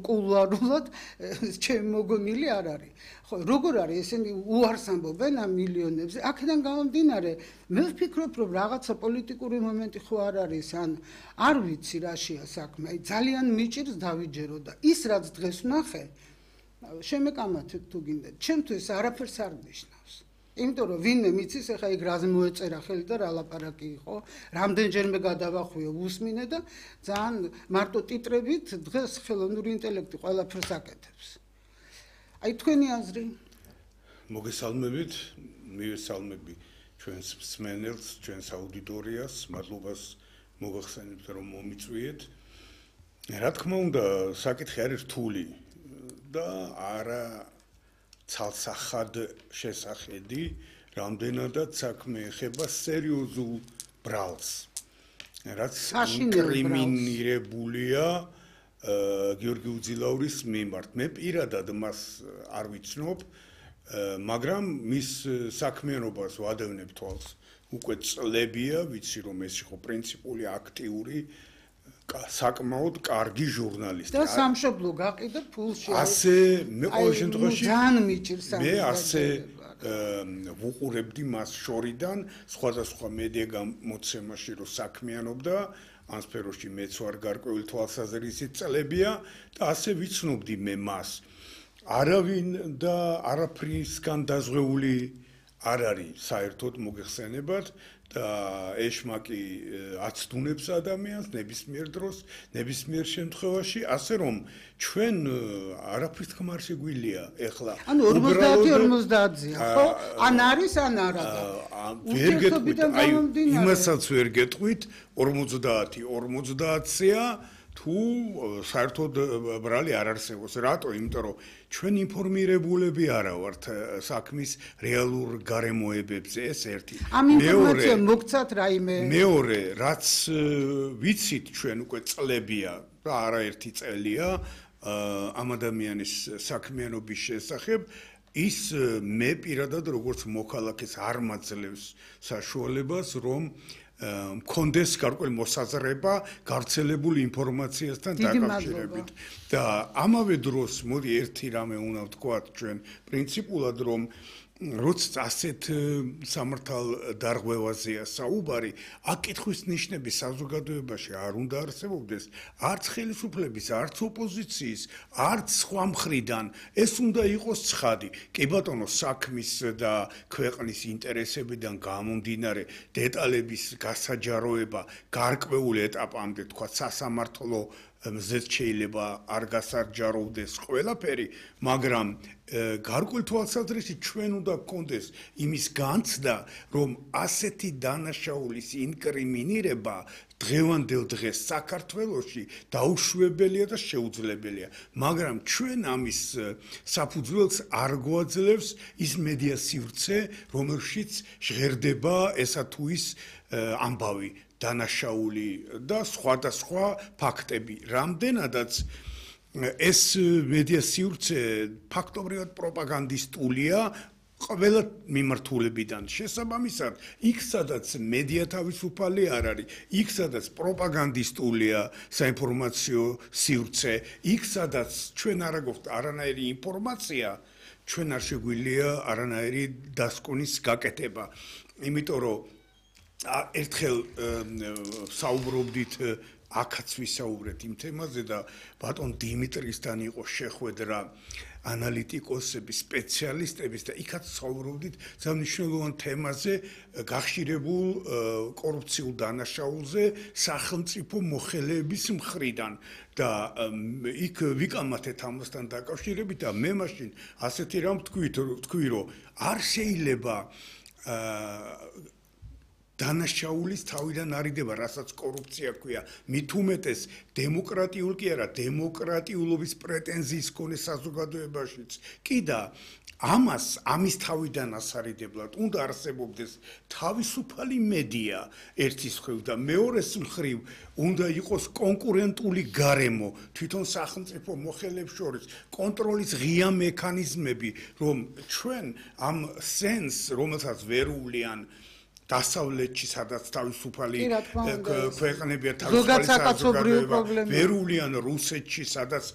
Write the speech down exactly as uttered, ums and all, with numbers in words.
კულუარულად ჩემი მოგონილი არ არის. ხო, როგორ არის ესენი უარს ამბობენ ამ მილიონებზე? აქედან გამომდინარე, მე ვფიქრობ, რომ რაღაცა პოლიტიკური მომენტი ხო არ არის, ან არ ვიცი რაშია საქმე. ძალიან მიჭირს დავიჯერო და ის რაც დღეს ვნახე, შემეკამათეთ თუ გინდათ. ჩემთვის არაფერს არ ნიშნავს. იმიტომ რომ ვინმე მიცის ახლა იქ რაზე მოეწერა ხელი და რა ლაპარაკი იყო, რამდენჯერმე გადავახვიო უსმინე და ძალიან მარტო ტიტრებით დღეს ხელოვნური ინტელექტი ყველაფერს აკეთებს. აი თქვენი აზრი? მოგესალმებით, მივესალმები ჩვენს მსმენელს, ჩვენს აუდიტორიას, მადლობას მოგახსენებთ რომ მომიწვიეთ. რა თქმა უნდა, საკითხი არის რთული და არა ცალსახად შესახედი, რამდენადაც საქმე ეხება სერიოზულ ბრალს, რაც ინკრიმინირებულია გიორგი უძილაურის მიმართ. მე პირადად მას არ ვიცნობ, მაგრამ მის საქმიანობას ვადევნებ თვალს უკვე წლებია, ვიცი რომ ეს იყო პრინციპული, აქტიური, საკმაოდ კარგი ჟურნალისტი. და სამშობლო გაყიდა ფულში. ასე მე ყოველ შემთხვევაში ძალიან მიჭირს მე ასე ვუყურებდი მას შორიდან სხვადასხვა მედია გამოცემაში რომ საქმიანობდა ამ სფეროში მეც ვარ გარკვეული თვალსაზრისით წლებია და ასე ვიცნობდი მე მას. არავინ და არაფრისგან დაზღვეული არ არის საერთოდ მოგეხსენებათ და ეშმაკი აცდუნებს ადამიანს ნებისმიერ დროს, ნებისმიერ შემთხვევაში, ასე რომ ჩვენ არაფრის თქმა არ შეგვიძლია ეხლა. ანუ ორმოცდაათი ორმოცდაათია, ხო? ან არის, ან არა. ვერ გეტყვით, აი იმასაც ვერ გეტყვით, ორმოცდაათი ორმოცდაათია თუ საერთოდ ბრალი არ არსებობს. რატო? იმიტომ რომ ჩვენ ინფორმირებულები არა ვართ საქმის რეალურ გარემოებებზე, ეს ერთი. ამ ინფორმაცია მოგცათ რაიმე? მეორე, რაც ვიცით ჩვენ უკვე წლებია და არაერთი წელია ამ ადამიანის საქმიანობის შესახებ, ის მე პირადად როგორც მოქალაქეს არ მაძლევს საშუალებას, რომ მქონდეს გარკვეული მოსაზრება გავრცელებული ინფორმაციასთან დაკავშირებით. და ამავე დროს მოდი ერთი რამე უნდა ვთქვათ ჩვენ პრინციპულად რომ როცა ასეთ სამართალ დარღვევაზეა საუბარი, აკითხვის ნიშნები საზოგადოებაში არ უნდა არსებობდეს, არც ხელისუფლების, არც ოპოზიციის, არც სხვა მხრიდან. ეს უნდა იყოს ცხადი. კი ბატონო, საქმის და ქვეყნის ინტერესებიდან გამომდინარე დეტალების გასაჯაროება გარკვეულ ეტაპამდე, თქვა სასამართლო მზეც შეიძლება არ გასაჯაროვდეს ყველაფერი, მაგრამ გარკვეულ თვალსაზრისით ჩვენ უნდა გქონდეს იმის განცდა, რომ ასეთი დანაშაულის ინკრიმინირება დღევანდელ დღეს საქართველოში დაუშვებელია და შეუძლებელია, მაგრამ ჩვენ ამის საფუძველს არ გვაძლევს ის მედია სივრცე, რომელშიც ჟღერდება ესა თუ ის ამბავი, დანაშაული და სხვადასხვა ფაქტები. რამდენადაც ეს მედია სივრცე ფაქტობრივად პროპაგანდისტულია ყველა მიმართულებიდან. შესაბამისად, იქ სადაც მედია თავისუფალი არ არის, იქ სადაც პროპაგანდისტულია საინფორმაციო სივრცე, იქ სადაც ჩვენ არ აგვაქვს არანაირი ინფორმაცია, ჩვენ არ შეგვიძლია არანაირი დასკვნის გაკეთება. იმიტომ რომ ერთხელ საუბრობდით აქაც ვისაუბრეთ იმ თემაზე და ბატონ დიმიტრისთან იყო შეხვედრა ანალიტიკოსების, სპეციალისტების და იქაც საუბრობდით სამნიშნელოვან თემაზე გახშირებულ კორუფციულ დანაშაულზე სახელმწიფო მოხელეების მხრიდან და იქ ვიკამათეთ ამასთან დაკავშირებით და მე მაშინ ასეთი რამ ვთქვი, რომ არ შეიძლება დანაშაულის თავიდან არიდება, რასაც კორუფცია ქვია, მით უმეტეს დემოკრატიულ კი არა, დემოკრატიულობის პრეტენზიის მქონე საზოგადოებაშიც. კი და ამას, ამის თავიდან ასარიდებლად უნდა არსებობდეს თავისუფალი მედია ერთის მხრივ და მეორეს მხრივ უნდა იყოს კონკურენტული გარემო თვითონ სახელმწიფო მოხელეებს შორის, კონტროლის ღია მექანიზმები, რომ ჩვენ ამ სენს, რომელსაც ვერ უვლიან დასავლეთში, სადაც თავისუფალი ქვეყნებია, თავისუფალი საზოგადოება, ვერულიან რუსეთში, სადაც